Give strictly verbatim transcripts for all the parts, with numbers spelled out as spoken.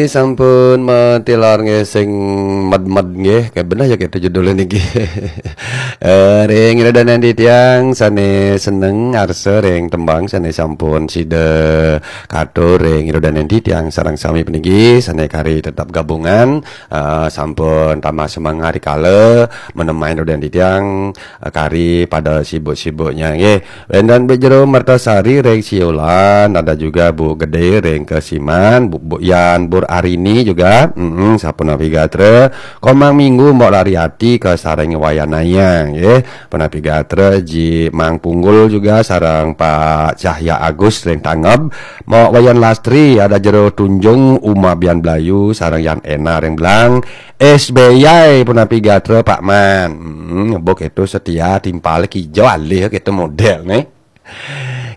Sampun matilar nggih sing med-med nggih. Kayak bener ya kita judulnya niki. Eh, ring ida dané titiang sané seneng arsa ring tembang sané sampun sida katur ring ida dané titiang sareng sami puniki sané kari tetap gabungan, eh, sampun tambah semangat rikala menemani ida dané titiang, eh, kari pada sibuk-sibuknya nggih. Wénten Bu Jero Mertasari ring Siulan, ada juga Bu Gede ring Kesiman, Bu, Bu Yan Bur Arini juga, mm, sapunapi gatra. Komang Minggu Mbok Lariati ka sareng Wayan Naya, nggih. Punapi gatra Ji Mang Punggul juga sareng Pak Cahya Agus ring Tangeb. Mbok Wayan Lastri, ada Jero Tunjung, Uma Bian Blayu sareng Yan Ena ring Blang. S B Y punapi gatra Pak Man. Hmm, buk itu setia timpal kijo alih gitu model nih.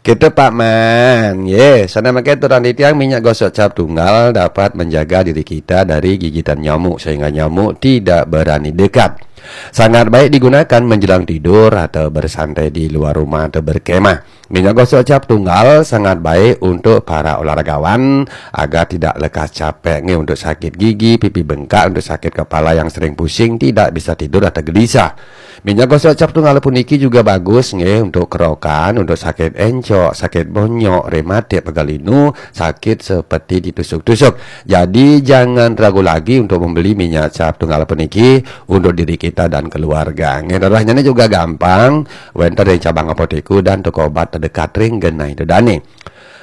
Kita Pak Man, ye, sana makai turang titiang minyak gosok cap tunggal dapat menjaga diri kita dari gigitan nyamuk sehingga nyamuk tidak berani dekat. Sangat baik digunakan menjelang tidur atau bersantai di luar rumah atau berkemah. Minyak gosok cap tunggal sangat baik untuk para olahragawan agar tidak lekas capek nggih, untuk sakit gigi, pipi bengkak, untuk sakit kepala yang sering pusing, tidak bisa tidur atau gelisah. Minyak gosok cap tunggal puniki juga bagus nggih untuk kerokan, untuk sakit encok, sakit bonyok, rematik, pegal linu, sakit seperti ditusuk-tusuk. Jadi jangan ragu lagi untuk membeli minyak cap tunggal puniki untuk diri kita dan keluarga. Nggih, darahnya ini juga gampang, wénten ring cabang apotek dan toko obat terdekat ring genah ida dané.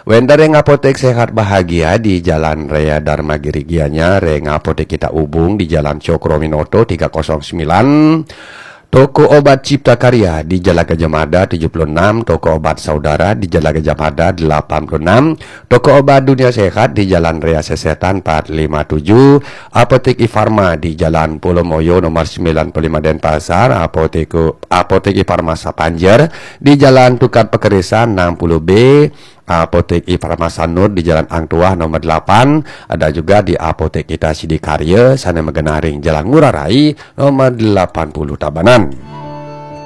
Wénten ring Apotek Sehat Bahagia di Jalan Raya Dharma Giri Gianyar, ring Apotek Kita Ubung di Jalan Cokroaminoto tiga kosong sembilan, toko obat Cipta Karya di Jalan Gajah Mada tujuh puluh enam, toko obat Saudara di Jalan Gajah Mada delapan puluh enam, toko obat Dunia Sehat di Jalan Raya Sesetan empat lima tujuh, Apotek Ifarma di Jalan Pulau Moyo nomor sembilan puluh lima Denpasar, Apotek, Apotek Ifarma Sapanjer di Jalan Tukad Pekerisan enam puluh B, Apotek Ifarma Sanur di Jalan Ang Tuah nomor delapan, ada juga di Apotek Kita Sidikarya, sana magenah ring Jalan Ngurah Rai nomor delapan puluh Tabanan.